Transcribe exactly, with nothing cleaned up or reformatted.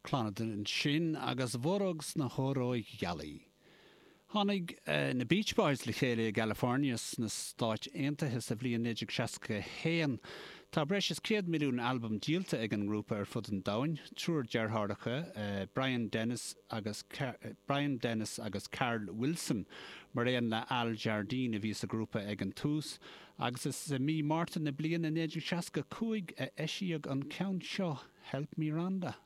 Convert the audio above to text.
Clannad ansin agus Mhóróg sna hÓróighealaí. Tháinig na Beach Boys le chéile i gCalifornia sna Stáit Aontaithe sa bhliain naoi déag seasca a haon. Tá breis is céad milliún albam díolta ag an ngrúpa ar fud an domhain, triúr deartháireacha, Brian Dennis agus Brian Dennis agus Carl Wilson, mar aon le Al Jardine a bhí sa ghrúpa ag an tús, agus is i mí Márta na bliana naoi déag seasca cúig a eisíodh an ceann seo, Help Me Rhonda.